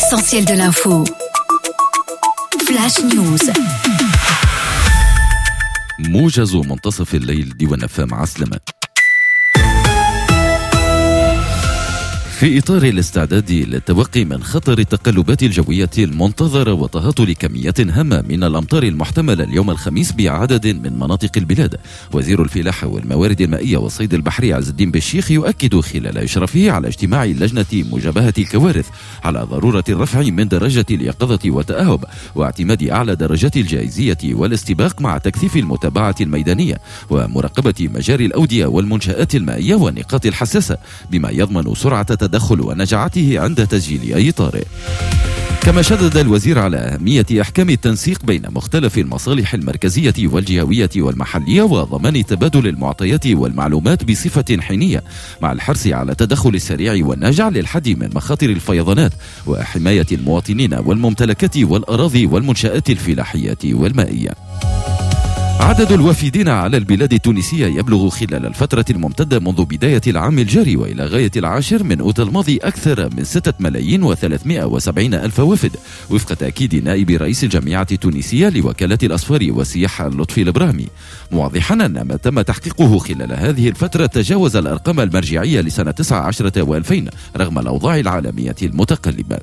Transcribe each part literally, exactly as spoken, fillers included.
L'essentiel de l'info. Flash News. موجز منتصف الليل، ديوان أف أم. عسلامة. في إطار الاستعداد للتوقي من خطر التقلبات الجوية المنتظرة وتهاطل كميات هامة من الأمطار المحتملة اليوم الخميس بعدد من مناطق البلاد، وزير الفلاحة والموارد المائية والصيد البحري عز الدين بالشيخ يؤكد خلال إشرافه على اجتماع لجنة مجابهة الكوارث على ضرورة الرفع من درجة اليقظة والتأهب واعتماد أعلى درجات الجاهزية والاستباق مع تكثيف المتابعة الميدانية ومراقبة مجاري الأودية والمنشآت المائية والنقاط الحساسة، بما يضمن سرعة تدخل ونجاعته عند تسجيل أي طارئ. كما شدد الوزير على أهمية إحكام التنسيق بين مختلف المصالح المركزية والجهوية والمحلية وضمان تبادل المعطيات والمعلومات بصفة حينية، مع الحرص على التدخل السريع والناجع للحد من مخاطر الفيضانات وحماية المواطنين والممتلكات والأراضي والمنشآت الفلاحية والمائية. عدد الوافدين على البلاد التونسية يبلغ خلال الفترة الممتدة منذ بداية العام الجاري وإلى غاية العاشر من أوت الماضي أكثر من ستة ملايين وثلاثمائة وسبعين ألف وافد، وفق تأكيد نائب رئيس الجامعة التونسية لوكالة الأسفار والسياحة لطفي الإبراهيمي، موضحا أن ما تم تحقيقه خلال هذه الفترة تجاوز الأرقام المرجعية لسنة تسعة عشر وألفين رغم الأوضاع العالمية المتقلبة.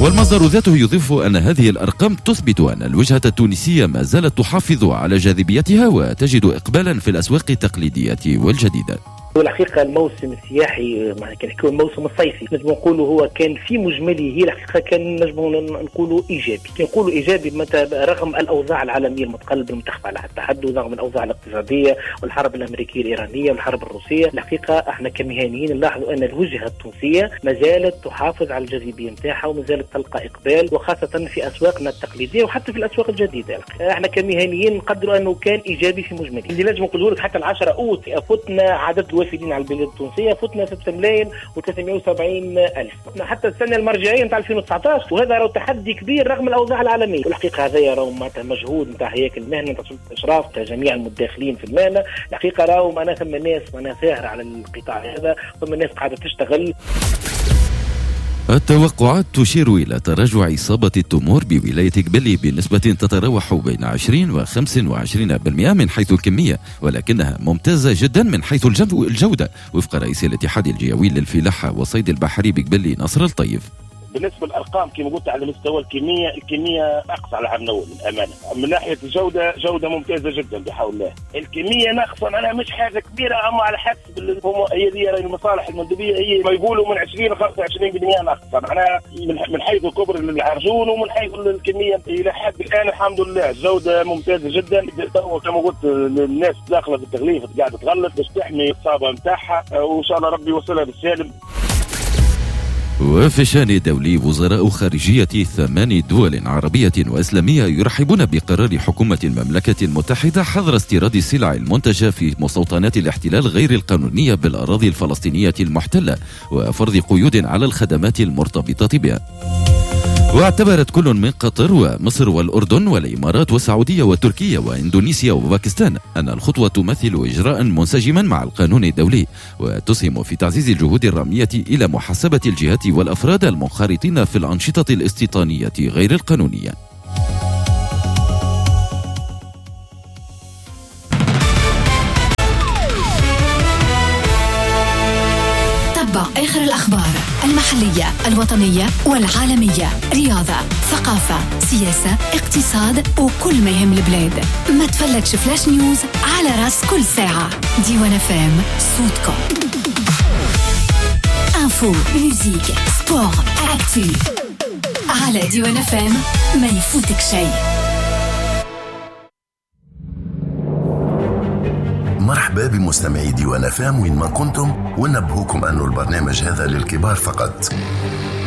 والمصدر ذاته يضيف أن هذه الأرقام تثبت أن الوجهة التونسية ما زالت تحافظ على جاذبيتها وتجد إقبالا في الأسواق التقليدية والجديدة. والحقيقة الموسم السياحي معناها كان نحكيو الموسم الصيفي نجم نقولوا هو كان في مجمله الحقيقة كان نجم نقولوا إيجابي. كي نقولوا إيجابي متى رغم الأوضاع العالمية المتقلبة المتخفى على التحدي، ورغم الأوضاع الاقتصادية والحرب الأمريكية الإيرانية والحرب الروسية، الحقيقة احنا كمهنيين نلاحظوا أن الوجهة التونسية ما زالت تحافظ على الجاذبية نتاعها وما زالت تلقى إقبال، وخاصة في أسواقنا التقليدية وحتى في الأسواق الجديدة. احنا كمهنيين نقدروا أنه كان إيجابي في مجمله. اللي نجم نقوله لك حتى العشرة أوت فتنا عدد الوافدين على البلاد التونسية فتنا ستة ملايين وثلاثمائة وسبعين ألف حتى السنة المرجعية نتاع ألفين وتسعة عشر، وهذا راهو تحدي كبير رغم الأوضاع العالمية. والحقيقة هذا راهو معناتها مجهود نتاع هياكل المهنة نتاع سلطة الإشراف نتاع جميع المتداخلين في المهنة. الحقيقة راهو معناها ثم ناس معناها ساهرة على القطاع هذا، ثم ناس قاعدة تشتغل. التوقعات تشير إلى تراجع إصابة التمور بولاية قبلي بنسبة تتراوح بين عشرين وخمسة وعشرين بالمئة من حيث الكمية، ولكنها ممتازة جدا من حيث الجودة، وفق رئيس الاتحاد الجهوي للفلاحة والصيد البحري بقبلي نصر الطيف. بالنسبة للأرقام كما قلت على مستوى الكمية، الكمية أقصى على العام الأول للأمانة. من ناحية الجودة جودة ممتازة جدا بحول الله. الكمية ناقصة معناها مش حاجة كبيرة، أما على حسب اللي هم هي دي المصالح المندوبية هي ما يقولوا من عشرين ل خمسة وعشرين بالمئة ناقصة، معناها من حيث كبر العرجون ومن حيث الكمية إلى حد الآن الحمد لله الجودة ممتازة جدا. كما قلت الناس داخلة في التغليف قاعدة تغلف باش تحمي الصابة نتاعها، وإن شاء الله ربي يوصلها بالسالم. وفي الشأن الدولي، وزراء خارجية ثمان دول عربية وإسلامية يرحبون بقرار حكومة المملكة المتحدة حظر استيراد السلع المنتجة في مستوطنات الاحتلال غير القانونية بالأراضي الفلسطينية المحتلة وفرض قيود على الخدمات المرتبطة بها. واعتبرت كل من قطر ومصر والأردن والإمارات والسعودية وتركيا وإندونيسيا وباكستان أن الخطوة تمثل إجراء منسجما مع القانون الدولي وتسهم في تعزيز الجهود الرامية إلى محاسبة الجهات والأفراد المنخرطين في الأنشطة الاستيطانية غير القانونية. تبع آخر الأخبار المحلية، الوطنية والعالمية، رياضة، ثقافة، سياسة، اقتصاد، وكل ما يهم البلاد. ما تفلتش Flash News على راس كل ساعة. ديوان أف أم، صوتكم. Info، musique، sport، actu. على ديوان أف أم ما يفوتك شيء. مرحبا بمستمعي ديوان أف أم وين ما كنتم، ونبهوكم أنه البرنامج هذا للكبار فقط،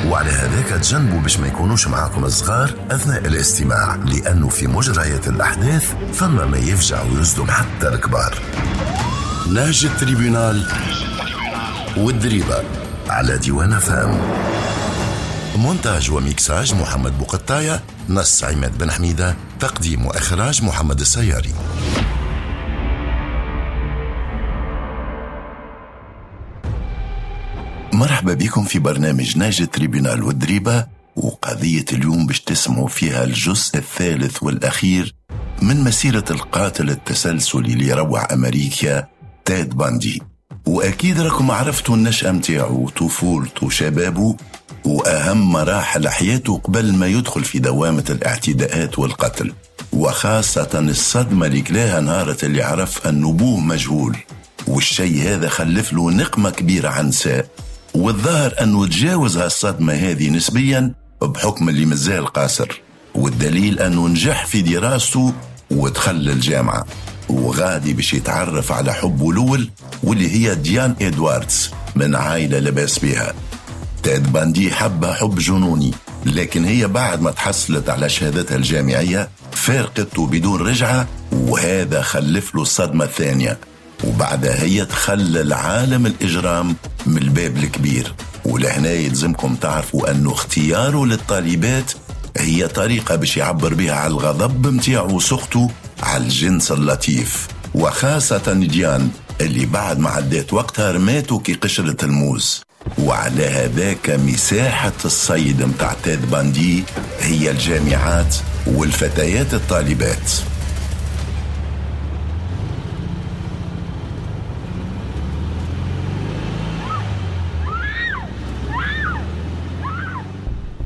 وعلى هذاك تجنبوا باش ما يكونوش معاكم الصغار أثناء الاستماع، لأنه في مجريات الأحداث فما ما يفجع ويصدم حتى الكبار. نهج ال tribunal والدريبة على ديوان أف أم. مونتاج وميكساج محمد بوقطاية، نص عماد بن حميدة، تقديم وإخراج محمد السياري. مرحبا بكم في برنامج نهج ال tribunal والدريبة وقضية اليوم باش تسمعوا فيها الجزء الثالث والأخير من مسيرة القاتل التسلسلي اللي روع أمريكا تيد باندي. وأكيد راكم عرفتوا النشأة متاعه، طفولته، شبابه، وأهم مراحل حياته قبل ما يدخل في دوامة الاعتداءات والقتل، وخاصة الصدمة اللي كلاها نهارة اللي عرف أنه أبوه مجهول، والشيء هذا خلف له نقمة كبيرة عن نساء، والظاهر أنه تجاوز هالصدمة هذه نسبيا بحكم اللي مازال قاصر، والدليل أنه نجح في دراسته ودخل الجامعة، وغادي باش يتعرف على حبه الأول واللي هي ديان إدواردز من عائلة لباس بها. تيد باندي حبها حب جنوني، لكن هي بعد ما تحصلت على شهادتها الجامعية فارقته بدون رجعة، وهذا خلف له الصدمة الثانية، وبعدها هي تخلى العالم الإجرام من الباب الكبير. ولهنا يلزمكم تعرفوا أنه اختياره للطالبات هي طريقة باش يعبر بها على الغضب متاعه وسخطه على الجنس اللطيف، وخاصة ديان اللي بعد ما عدات وقتها رماته كي قشرة الموز. وعلى هذاك مساحة الصيد متاع تيد باندي هي الجامعات والفتيات الطالبات.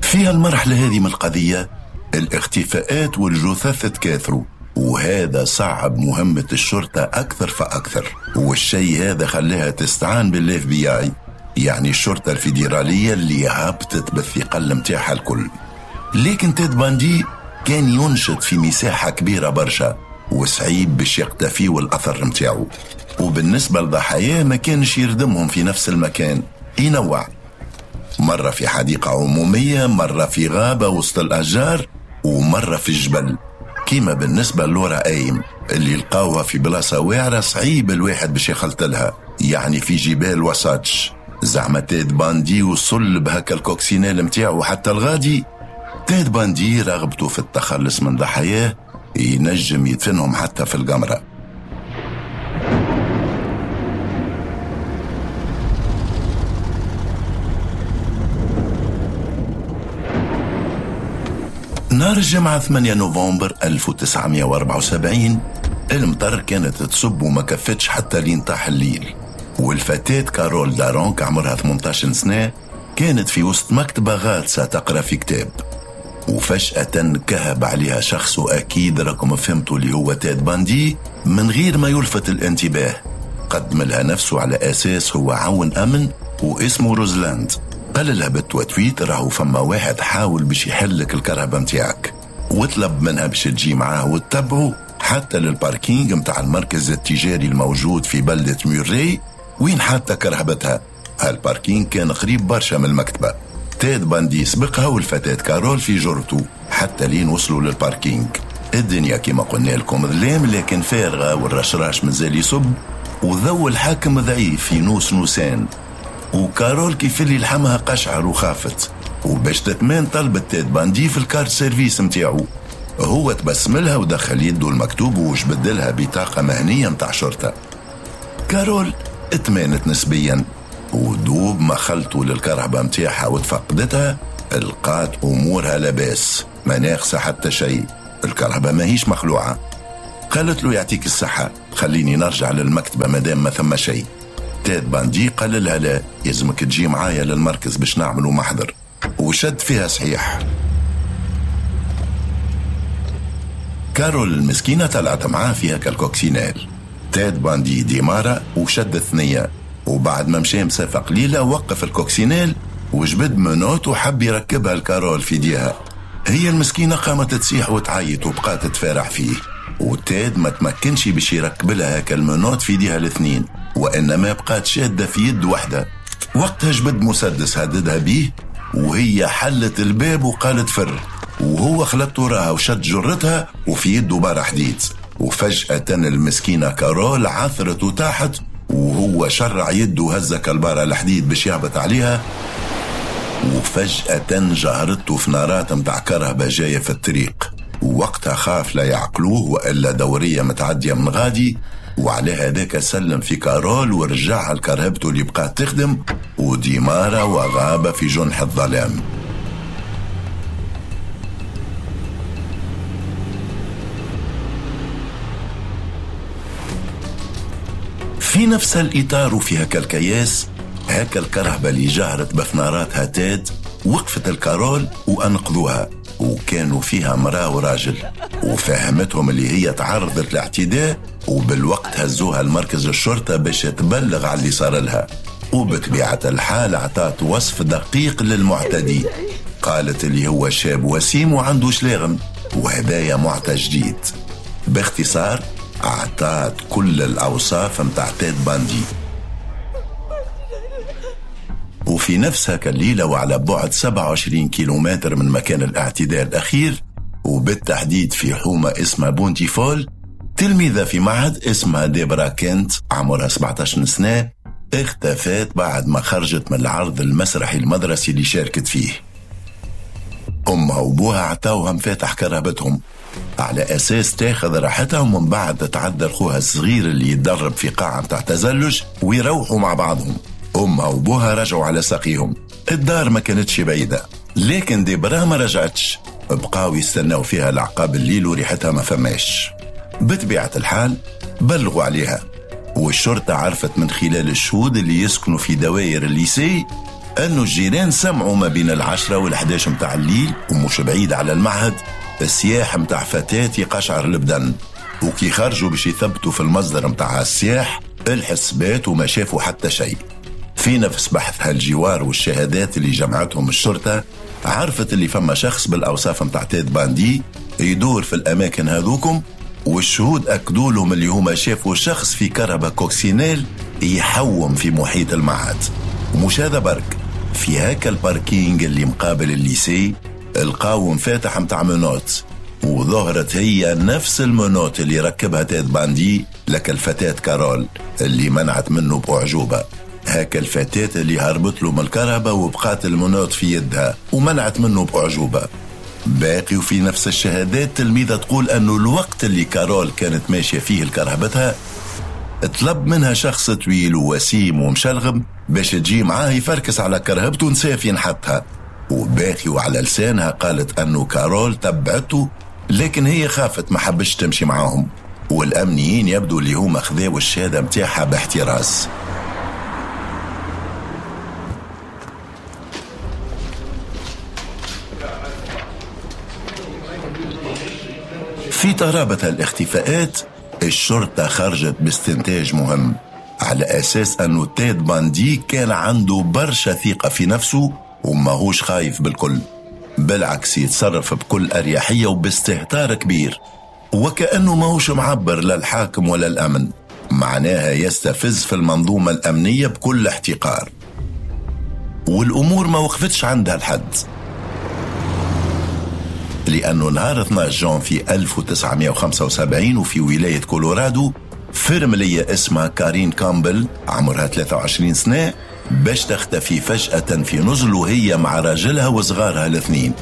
في المرحلة هذه من القضية الاختفاءات والجثث تكاثروا، وهذا صعب مهمة الشرطة أكثر فأكثر، والشيء هذا خلاها تستعان بال FBI، يعني الشرطة الفيدرالية اللي هبطت بالثقل متاعها الكل. لكن تيد باندي كان ينشط في مساحة كبيرة برشا وصعيب باش يقتفي والأثر متاعه، وبالنسبة لضحاياه ما كانش يردمهم في نفس المكان، ينوع، مرة في حديقة عمومية، مرة في غابة وسط الأشجار، ومرة في الجبل. كيما بالنسبة لورا أيم اللي لقاوها في بلاصة واعرة صعيب الواحد باش يخلطلها، يعني في جبال وساتش. زعما تيد باندي وصل بهكا ال coccinelle متاعه حتى الغادي. تيد باندي رغبته في التخلص من ضحاياه ينجم يدفنهم حتى في القمرة. نهار الجمعة ثمانية نوفمبر ألف وتسعمائة وأربعة وسبعين المطر كانت تصب وما كفتش حتى لين طاح الليل، والفتاة كارول دارونك عمرها ثمانية عشر سنة كانت في وسط مكتبة غاطسة تقرأ في كتاب، وفجأة كهب عليها شخص، وأكيد راكم فهمتوا اللي هو تيد باندي، من غير ما يلفت الانتباه. قدم لها نفسه على أساس هو عون أمن واسمه روزلاند. قال لها بالتوتويت راهو فما واحد حاول باش يحلك الكرهبة متاعك، وطلب منها باش تجي معاه وتتبعه حتى لل parking متاع المركز التجاري الموجود في بلدة ميوري وين حتى كرهبتها. هال parking كان قريب برشا من المكتبة. تيد باندي سبقها والفتاة كارول في جرته حتى لين وصلوا لل parking. الدنيا كما قلنا لكم ظلام لكن فارغة، والرشراش مازال يصب، وذو الحاكم ضعيف في نوس نوسان. وكارول كيف اللي لحمها قشعر وخافت، وباش تتمان طلبت تيد باندي في ال carte service متاعو. هو تبسملها ودخل يده المكتوب وجبدلها بطاقة مهنية متاع شرطة. كارول اتمانت نسبيا، ودوب ما خلطوا للكرهبة متاعها وتفقدتها لقات أمورها لباس، ما ناقصة حتى شيء، الكرهبة ماهيش مخلوعة. قالت له يعطيك الصحة، خليني نرجع للمكتبة مادام ما ثم شيء. تيد باندي قال لها لا، يلزمك تجي معايا للمركز باش نعملوا محضر، وشد فيها صحيح. كارول المسكينة طلعت معاه فيها كال coccinelle. تيد باندي démarra وشد ثنية، وبعد ما مشى مسافة قليلة وقف ال coccinelle وجبد menottes وحب يركبها الكارول في ديها. هي المسكينة قامت تصيح وتعيط وبقات تفارع فيه، وتيد ما تمكنش باش يركب لها هكا ال menottes في ديها الاثنين، وإنما بقات شادة في يد واحدة. وقتها جبد مسدس هددها بيه، وهي حلت الباب وقالت فر، وهو خلط وراها وشد جرتها وفي يده بار حديد. وفجأة المسكينة كارول عثرت وتاحت، وهو شرع يده وهزك البارة الحديد باش يهبط عليها. وفجأة جهرته في نارات متاع كرهبة جاية في الطريق، ووقتها خاف لا يعقلوه وإلا دورية متعدية من غادي، وعلى هذاك سلم في كارول ورجعها لكرهبته اللي بقات تخدم، وديمارا وغاب في جنح الظلام. في نفس الإطار وفي هكا الكياس، هكا الكرهبة اللي جهرت بفناراتها تاد وقفت الكارول وأنقذوها، وكانوا فيها مرأة وراجل، وفهمتهم اللي هي تعرضت لاعتداء، وبالوقت هزوها المركز الشرطة باش تبلغ على اللي صار لها. وبطبيعة الحال اعطت وصف دقيق للمعتدي، قالت اللي هو شاب وسيم وعنده شلاغم وهدايا معطى جديد. باختصار اعطت كل الأوصاف متاع تيد باندي. وفي نفس هكا الليلة وعلى بعد سبعة وعشرين كيلومتر من مكان الاعتداء الأخير، وبالتحديد في حومة اسمها بونتيفول، تلميذة في معهد اسمها ديبرا كنت عمرها سبعة عشر سنة اختفت بعد ما خرجت من العرض المسرحي المدرسي اللي شاركت فيه. أمها وبوها عطاوها مفاتح كرهبتهم على أساس تاخذ راحتها، ومن بعد تتعدل خوها الصغير اللي يتدرب في قاعة متاع تزلج ويروحوا مع بعضهم. أمها وبوها رجعوا على ساقيهم، الدار ما كانتش بعيدة، لكن ديبرا ما رجعتش، بقاو يستناو فيها العقاب الليل وريحتها ما فماش. بطبيعة الحال بلغوا عليها، والشرطة عرفت من خلال الشهود اللي يسكنوا في دوائر ال lycée أنه الجيران سمعوا ما بين العشرة والحداش متاع الليل ومش بعيد على المعهد السياح متاع فتاة يقشعر البدن، وكي خرجوا باش يثبتوا في المصدر متاع السياح الحسبات وما شافوا حتى شيء. في نفس بحث هالجوار والشهادات اللي جمعتهم الشرطة عرفت اللي فما شخص بالأوصاف متاع تيد باندي يدور في الأماكن هذوكم، والشهود أكدوا لهم اللي هما شافوا شخص في كرهبة coccinelle يحوم في محيط المعهد. ومش هذا برك، في هاكا ال parking اللي مقابل ال lycée القاو مفاتح متاع menottes، وظهرت هي نفس ال menottes اللي ركبها تيد باندي لك الفتاة كارول اللي منعت منه بأعجوبة. هاكا الفتاة اللي هربت له من الكرهبة وبقات ال menottes في يدها ومنعت منه بأعجوبة. باقي وفي نفس الشهادات تلميذة تقول أنه الوقت اللي كارول كانت ماشية فيه لكرهبتها طلب منها شخص طويل ووسيم ومشلغم باش تجي معاه يفركس على كرهبته ونساف ينحطها. وباقي وعلى لسانها قالت أنه كارول تبعته، لكن هي خافت ما حبش تمشي معاهم، والأمنيين يبدو اللي هما خذاو الشهادة متاعها باحتراس. في ترابط الاختفاءات الشرطة خرجت باستنتاج مهم على أساس أنه تيد باندي كان عنده برشا ثقة في نفسه وماهوش خايف بالكل، بالعكس يتصرف بكل أريحية وباستهتار كبير، وكأنه ماهوش معبر للحاكم ولا الأمن، معناها يستفز في المنظومة الأمنية بكل احتقار. والأمور ما وقفتش عندها الحد، لأنه نهار اثنا عشر جون في ألف وتسعمائة وخمسة وسبعين وفي ولاية كولورادو فرملية اسمها كارين كامبل عمرها ثلاثة وعشرين سنة باش تختفي فجأة في نزل وهي مع راجلها وصغارها الاثنين.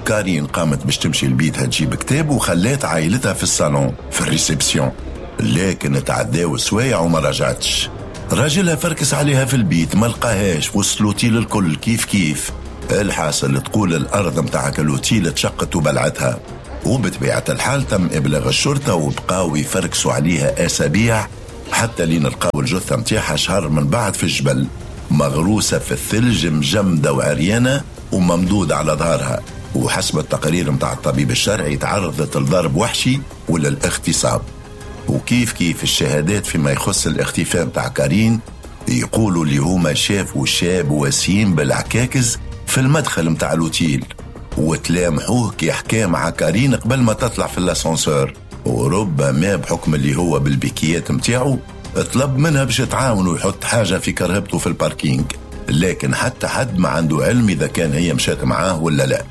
كارين قامت باش تمشي لبيتها تجيب كتاب وخلات عائلتها في الصالون في ال réception، لكن تعداو سوايع وما رجعتش. راجلها فركس عليها في البيت ما لقاهاش، وصل l'hôtel الكل كيف كيف. الحاصل تقول الأرض متاعك الأوتيل تشقت وبلعتها. وبطبيعة الحال تم إبلاغ الشرطة وبقاو يفركسوا عليها أسابيع حتى لين لقاو الجثة متاعها شهر من بعد في الجبل، مغروسة في الثلج مجمدة وعريانة وممدودة على ظهرها. وحسب التقرير متاع الطبيب الشرعي تعرضت لضرب وحشي ولا الاغتصاب. وكيف كيف الشهادات فيما يخص الاختفاء متاع كارين يقولوا اللي هما شافوا شاب وسيم بالعكاكز في المدخل متاع الأوتيل وتلامحوه كي حكى مع كارين قبل ما تطلع في الاسانسور، وربما بحكم اللي هو بالبيكيات متاعه طلب منها باش تعاونه ويحط حاجة في كرهبته في ال parking، لكن حتى حد ما عنده علم إذا كان هي مشات معاه ولا لا.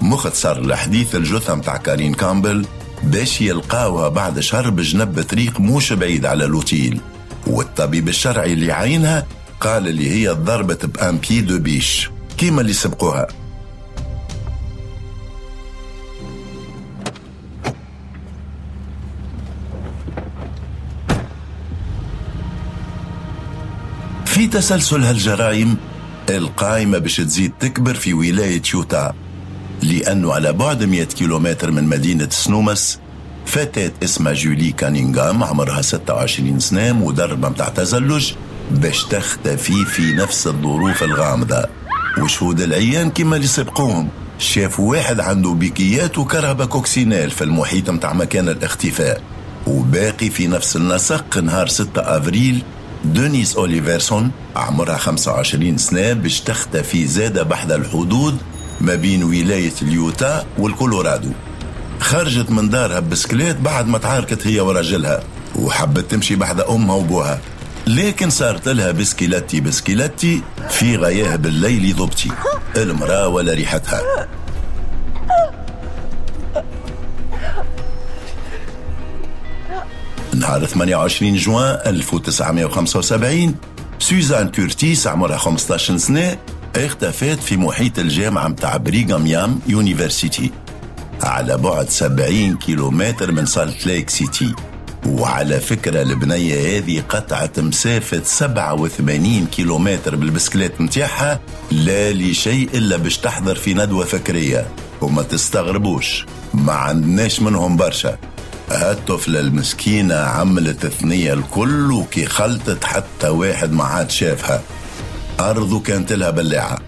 مختصر الحديث الجثة متاع كارين كامبل باش يلقاوها بعد شهر بجنب طريق موش بعيد على الأوتيل، والطبيب الشرعي اللي عينها قال اللي هي ضربت ب un pied de biche كيما اللي سبقوها. في تسلسل هالجرائم القائمة باش تزيد تكبر في ولاية يوتا، لأنه على بعد مئة كيلومتر من مدينة سنومس فتاة اسمها جولي كانينغام عمرها ستة وعشرين سنة، مدربة متاع تزلج، باش تختفي في نفس الظروف الغامضة. وشهود العيان كما اللي سبقوهم شافوا واحد عنده بيكيات وكرهبة coccinelle في المحيط متاع مكان الاختفاء. وباقي في نفس النسق نهار ستة أفريل دونيس أوليفرسون عمرها خمسة وعشرين سنة باش تختفي زادة بحذا الحدود ما بين ولاية اليوتا والكولورادو. خرجت من دارها بسكليت بعد ما تعاركت هي ورجلها وحبت تمشي بحذا أمها وبوها، لكن صارت لها بسكيلتي بسكيلتي في غياب الليل ضبطي المرأة ولا ريحتها. نهار ثمانية وعشرين جوان ألف وتسعمائة وخمسة وسبعين سوزان كورتيس عمرها خمسة عشر سنة اختفت في محيط الجامعة متاع بريغام يام يونيفرسيتي على بعد سبعين كيلومتر من سالت ليك سيتي. وعلى فكرة البنية هذه قطعت مسافة سبعة وثمانين كيلومتر بالبسكليت متاعها لا لشيء إلا باش تحضر في ندوة فكرية. وما تستغربوش، ما عندناش منهم برشا. هالطفلة المسكينة عملت ثنية الكل وكي خلطت حتى واحد ما عاد شافها، أرضه كانت لها بلاعة.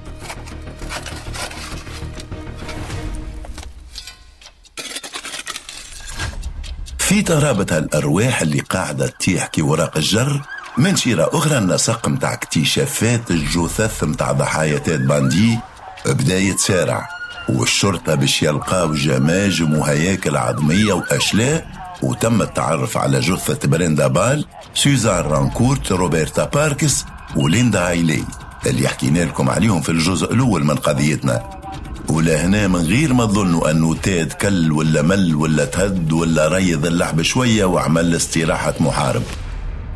في ترابط هالأرواح اللي قاعدة تطيح كي وراق الجر، من شيرة أخرى النسق متاع اكتشافات الجثث متاع ضحايا تيد باندي بدا يتسارع، والشرطة باش يلقاو جماجم وهياكل عظمية وأشلاء. وتم التعرف على جثة بريندا بال، سوزان رانكورت، روبرتا باركس وليندا هايلي اللي حكينا لكم عليهم في الجزء الأول من قضيتنا. ولهنا من غير ما تظنوا أنه تاد كل ولا مل ولا تهد ولا ريض اللعب شوية وعمل استراحة محارب،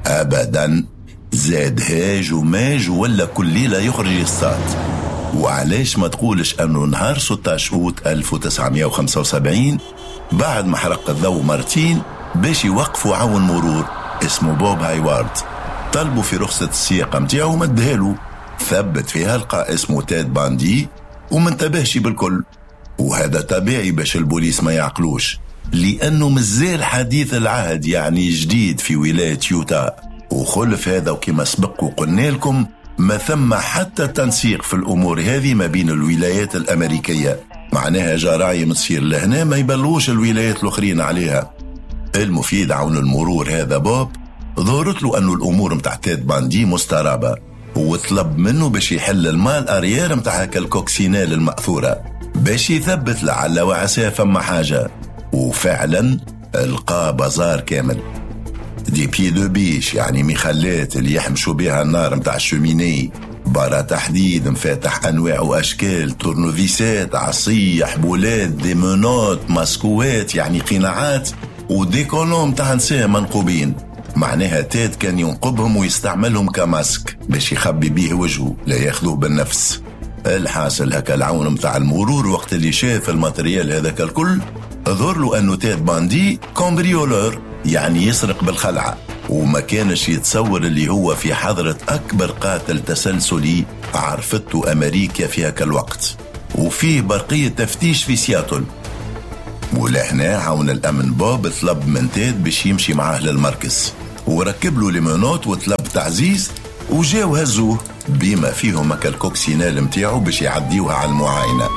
أبدا، زاد هاج وماج ولا كل ليلة يخرج يصطاد. وعلاش ما تقولش أنه نهار ستة عشر أوت ألف وتسعمائة وخمسة وسبعين بعد ما حرق الضوء مرتين باش يوقفوا عون مرور اسمه بوب هايوارد، طلبوا في رخصة السياقة متاعه ومدهالو، ثبت فيها لقى اسمه تاد باندي وما انتبهش بالكل. وهذا طبيعي باش البوليس ما يعقلوش، لأنه مازال حديث العهد يعني جديد في ولاية يوتا. وخلف هذا وكما سبق وقلنا لكم ما ثم حتى تنسيق في الأمور هذه ما بين الولايات الأمريكية، معناها جرايم تصير لهنا ما يبلغوش الولايات الأخرين عليها. المفيد عون المرور هذا بوب ظهرت له أنه الأمور متاع تيد باندي مسترابة، وطلب منه باش يحل ال malle arrière متاع هكا ال coccinelle المأثورة باش يثبت لعل وعسى فما حاجة. وفعلا لقى بازار كامل، des pieds de biche يعني مخلات اللي يحمشوا بها النار متاع ال cheminée، بارا تحديد، مفاتح أنواع وأشكال، تورنوفيسات، عصي، حبولات، des menottes، ماسكوات يعني قناعات، و des collants متاع نساء منقوبين. معناها تاد كان ينقبهم ويستعملهم كماسك باش يخبي بيه وجهه لا ياخذوه بالنفس. الحاصل هكا العون متاع المرور وقت اللي شاف ال matériel هذاك الكل ظهر له أنه تاد باندي cambrioleur يعني يسرق بالخلعة، وما كانش يتصور اللي هو في حضرة أكبر قاتل تسلسلي عرفته أمريكا في هكا الوقت. وفيه برقية تفتيش في سياتل. ولهنا عون الأمن بوب طلب من تاد باش يمشي معاه للمركز، وركب له les menottes وطلب تعزيز، وجاو هزوه بما فيهم هكا ال coccinelle متاعو باش يعديوها على المعاينة.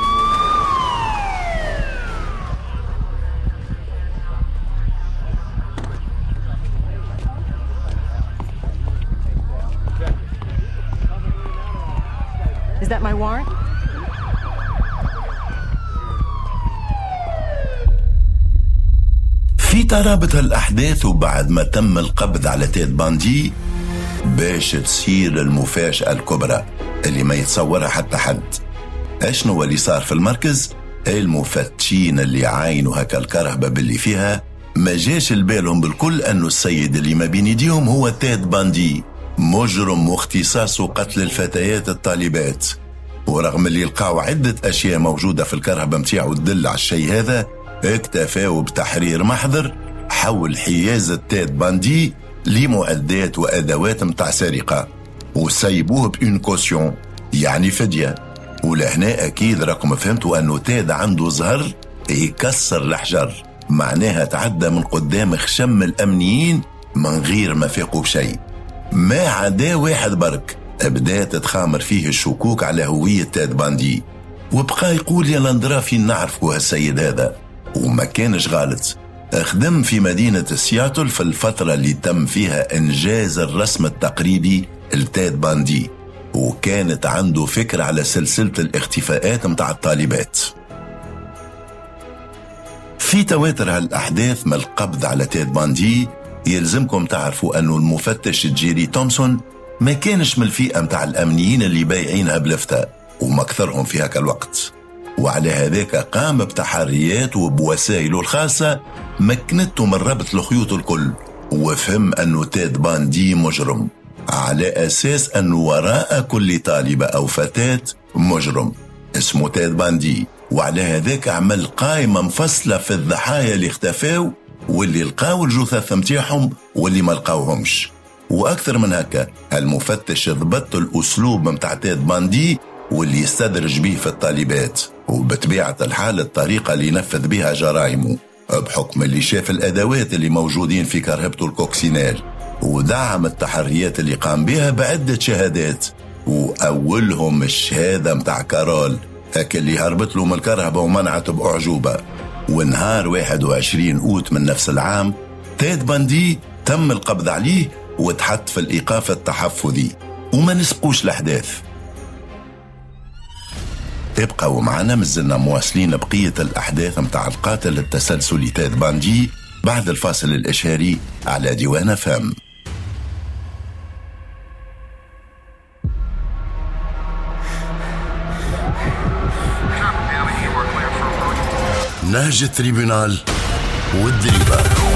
Is that my warrant? في ترابط الأحداث وبعد ما تم القبض على تيد باندي باش تصير المفاجأة الكبرى اللي ما يتصورها حتى حد. اشنو اللي صار في المركز؟ المفتشين اللي عاينوا هكا الكرهبة باللي فيها ما جاش البالهم بالكل أنه السيد اللي ما بين يديهم هو تيد باندي، مجرم واختصاصه قتل الفتيات الطالبات. ورغم اللي لقاو عدة أشياء موجودة في الكرهبة متاعو تدل على الشيء هذا، اكتفاوا بتحرير محضر حول حيازة تيد باندي لمعدات وأدوات متاع سرقة، وسيبوه ب une caution يعني فدية. ولهنا أكيد راكم فهمتوا أنه تيد عنده زهر يكسر الحجر، معناها تعدى من قدام خشم الأمنيين من غير ما فاقوا بشيء، ما عدا واحد برك بدات تخامر فيه الشكوك على هوية تاد باندي، وبقى يقول يا لندرا فين نعرفوا هالسيد هذا. وما كانش غلط، خدم في مدينة سياتل في الفترة اللي تم فيها إنجاز الرسم التقريبي لتاد باندي، وكانت عنده فكرة على سلسلة الاختفاءات متاع الطالبات. في تواتر هالأحداث من القبض على تاد باندي، يلزمكم تعرفوا أنه المفتش جيري تومسون ما كانش من الفئة متاع الأمنيين اللي بايعينها بلفتة ومكثرهم في هكا الوقت، وعلى هذاك قام بتحريات وبوسائله الخاصة مكنته من ربط الخيوط الكل، وفهم أنه تاد باندي مجرم على أساس أنه وراء كل طالبة أو فتاة مجرم اسمه تاد باندي. وعلى هذاك عمل قائمة مفصلة في الضحايا اللي اختفاو واللي لقاو الجثث متاعهم واللي ما لقاوهمش. وأكثر من هكا المفتش ضبط الأسلوب متاع تاد باندي واللي يستدرج به في الطالبات، وبطبيعة الحال الطريقة اللي ينفذ بها جرائمه، بحكم اللي شاف الأدوات اللي موجودين في كرهبته ال coccinelle، ودعم التحريات اللي قام بها بعدة شهادات، وأولهم الشهادة متاع كارول هاك اللي هربت له من الكرهبة ومنعته بأعجوبة. ونهار واحد وعشرين أوت من نفس العام تاد باندي تم القبض عليه وتحط في الإيقاف التحفظي، وما نسبقوش الأحداث. ابقوا معنا، مازلنا مواصلين بقية الأحداث متاع القاتل التسلسلي تاد باندي بعد الفاصل الإشهاري على ديوان فم. نهج ال tribunal والدريبة.